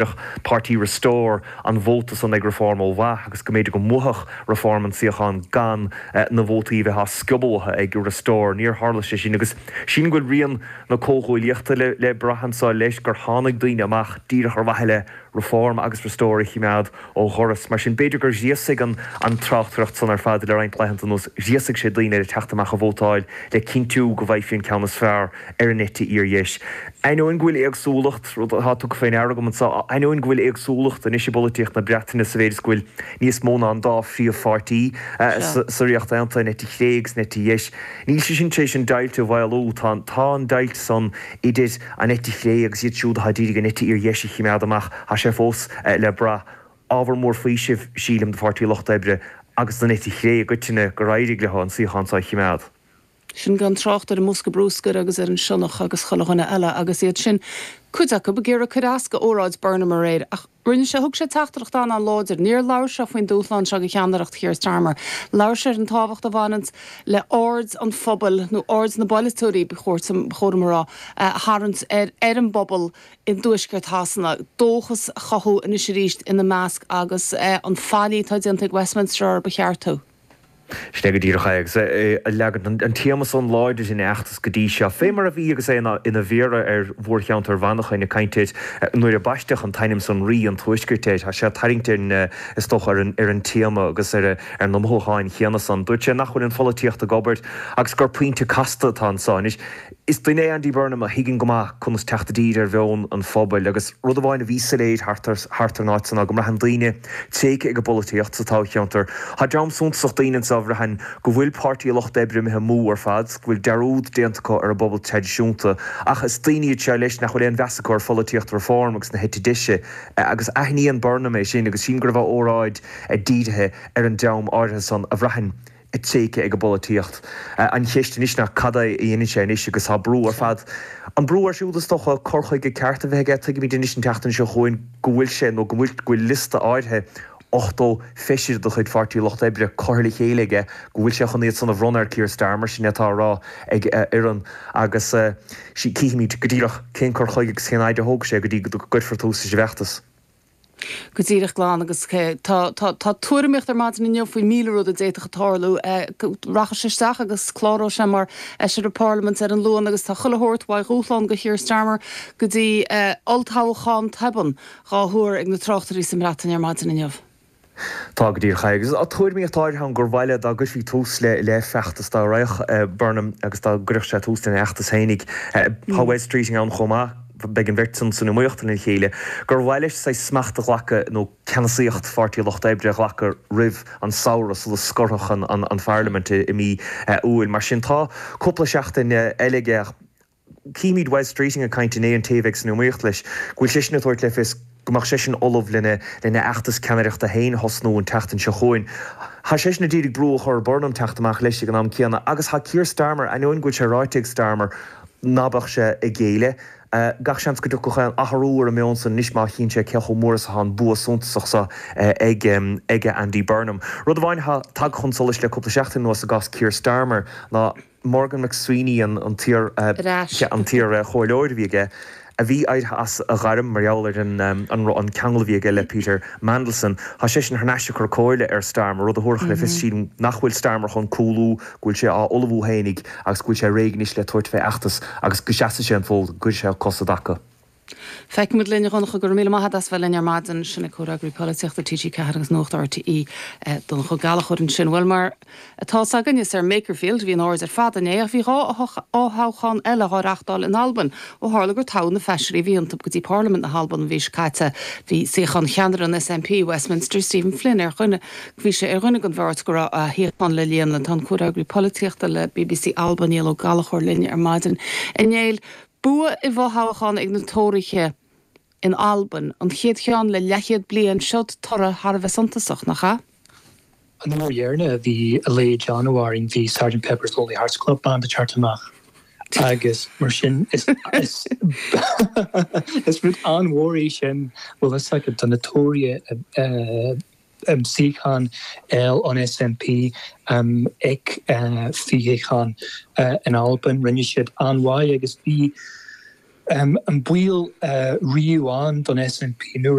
Bheadh páirtí Restore an vóta san ag Reform ó mhaith agus go mb'fhéidir go mbuafadh Reform an suíochán gan na vótaí a bheith á sciobadh uathu ag Restore. Níor tharla sé sin agus sílim go bhfuil rian na comhghuaillíochta le brath anseo leis, gur tháinig daoine amach díreach ar mhaithe le Reform agus Restore a chimeád ó dhoras. Mar sin b'fhéidir gur ghríosaigh an tráchtaireacht san ar fad le roinnt laethanta anuas, ghríosaigh sé daoine le teacht amach a vótáil le cinntiú go bhfaighfí an ceann is fearr ar an eite fhíordheis. Ainneoin go bhfuil éagsúlacht, rud atá tugtha faoi ndeara agam anseo, ainneoin go bhfuil éagsúlacht anois i bpolaitíocht na Breataine sa mhéid is go bhfuil níos mó ná an dá phríomhpháirtí sa Ríocht Aontaithe, an eite chlé agus an eite dheis, níl sé sin tar éis an deighilt a mhaolú. Tá tá an deighilt san idir an eite chlé agus iad siúd atá d'iarraidh an eite fhíordheis a chimeád amach, tá sé fós le brath. Ábhar mór faoisimh, sílim, do Pháirtí Lucht Oibre agus don eite chlé i gcoitinne gur éirigh leo an suíochán seo a chimeád. Sin gan trácht ar an mbosca brúscair agus ar an sionnach agus chuile dhuine eile agus iad sin, cuid acu, ag iarraidh cur as go óráid Burnham aréir. Ach rinne sé, thug sé teachtaireacht an-an-láidir. Níor labhair sé faoin dúshlán seo do cheannaireacht Keir Starmer. Labhair sé ar an tábhacht a bhaineanns le aird an phobail, nó aird na bpolaiteoirí, ba chóir dom a rá, a tharraingt ar ar an bpobal i dtuaisceart Shasana, dóchas a chothú anois arís ina measc agus an faillí atá déanta ag Westminster orthu a cheartú. Sin é go díreach é, agus é ag leagan an téama san láidir ina fheachtas go dtí seo. Fé mar a bhí agus é ina mhéara ar mhórcheantar Mhanchain ag caint air nuair a baisteadh an t-ainm san Rí an Tuaiscirt air. Tá sé ag tarraingt ar an, is dócha, ar an, ar an téama agus ar, ar na mothúcháin chéanna san. Dúirt sé nach bhfuil an pholaitíocht ag obair agus gur pointe casta atá anso anois. Is duine é Andy Burnham a thuigeann go maith conas teacht i dtír ar mheon an phobail agus rud amháin a bhí soiléir thart ar thart ar an áit san ná go mbraitheann daoine tréigthe ag an bpolaitíocht sa toghcheantar. Tá dream suntasach daoine anseo a bhraitheann go bhfuil Páirtí an Lucht Oibre imithe amú ar fad, go bhfuil dearúd déanta acu ar an bpobal traidisiúnta. Ach is daoine iad seo leis nach bhfuil aon mheas acu ar pholaitíocht Reform agus na heite deise agus aithníonn Burnham é sin agus sílim go raibh a óráid dírithe ar an dream áirithe san a bhraitheann tréigthe ag an bpolaitíocht. An cheist anois ná cad é a dhéanann sé anois agus tá brú ar fad, an brú air siúd is dócha, cur chuige ceart a bheith aige. Tuigimid anois an tseachtain seo chugainn go bhfuil sé nó go bhfuil go bhfuil liosta áirithe 80 feisire de chuid Pháirtí an Lucht Oibre curtha le chéile aige, go bhfuil sé chun iad san a bhronnadh ar Keir Starmer, sin é atá á rá ag a fhoireann agus cífimid go díreach cén cur chuige agus cén fhaid a thógfaidh sé go dtí go gcuirfear tús leis an bhfeachtas. Go díreach glan agus tá tá tuairimíocht ar maidin inniu faoi 1,000 rud a d'fhéadfadh tarlú. Rachaidh sé isteach agus cláróidh sé mar Fheisire Parlaiminte ar an Luan agus tá chuile shórt uaidh dhúshlán do Keir Starmer go dtí olltoghchán tobann dhá thuar ag na tráchtairí sa mBreatain ar maidin inniu. Tá go díreach agus tá tuairimíocht áirithe ann gur mhaith le dá gcuirfí tús le le feachtas dá raghadh Burnham agus dá gcuirfeadh sé tús lena fheachtas fhéinig. Tá Wes Streeting ann chomh maith, beidh an bheirt san san iomaíocht lena chéile, gur mhaith leis saghas smacht a ghlacadh nó ceannasaíocht Pháirtí an Lucht Oibre a ghlacadh roimh an samhradh sula scorfadh an an Pharlaimint i mí Iúil. Mar sin tá cúpla seachtain eile aige ach Címid Wes Streeting ag caint inné, an té a bheidh san iomaíocht leis, go bhfuil seisean ag tabhairt le fios go mbeadh seisean ullamh lena lena fheachtas ceannaireachta féin a thosnú an tseachtain seo chugainn. Tá seisean ag iarraidh brú a chur ar Burnham teacht amach leis ag an am céanna agus tá Keir Starmer, ainneoin go bhfuil sé ráite ag Starmer ná beadh sé ag géilleadh, gach seans go dtiocfadh aon athrú ar an meon san anois má chíonn sé cé chomh mór is atá an bua suntasach seo ag ag Andy Burnham. Rud amháin atá tagtha chun solais le cúpla seachtain anuas i gcás Keir Starmer ná, Morgan McSweeney, an t-iar-chomhairleoir a bhí aige, a bhí éirithe as a ghairm mar gheall ar an ceangal a bhí aige le Peter Mandelson. Tá seisean thar n-ais ag cur comhairle ar Starmer, rud a thabharfadh le fios, sílim, nach bhfuil Starmer chun cúlú, go bhfuil sé á ullmhú fhéinig agus go bhfuil sé réidh anois le tabhairt fé fheachtas agus go seasfaidh sé an fód, go gcuirfidh sé a cos i dtaca. Feicfimid linn, a Dhonncha. Go raibh míle maith agat as bheith linn ar maidin. Sin é Comhfhreagraí Polaitíochta TG4 agus Nuacht RTÉ, Donncha Ó Gallchóir ansin. Bhuel, mar atá 's againn, is ar Makerfield a bhí an aird ar fad inné ach bhí 2 fhothoghchán eile dhá reachtáil in Albain ó tharla gur toghadh na feisirí a bhí iontu go dtí Parlaimint na hAlban an mhí seo caite. Bhí suíochán cheannaire an SNP i Westminster, Stephen Flynn, ar dhuine bhí sé ar dhuine den bheirt go raibh a shuíochán le líonadh. Tá an Comhfhreagraí Polaitíochta le bbc Alba, Niall Ó Gallchóir linn ar maidin. A Néill, Bua i bhfothoghchán ag na Tóraithe in Albain, an chéad cheann le leathchéad bliain, seod toradh thar a bheith suntasach, nach ea? An uair dheireanach a bhí a leithéid ann, a Mháirín, bhí Sergeant Pepper's Lonely Hearts Club Band ag teacht amach agus mar sin is is is rud an-mhór é sin, bhfuil fhios agat, do na Tóraithe a suíochán eil an SNP ag fothoghchán in Albain. Rinne siad an-mhaith agus bhí. An baol riamh ann don SNP nó.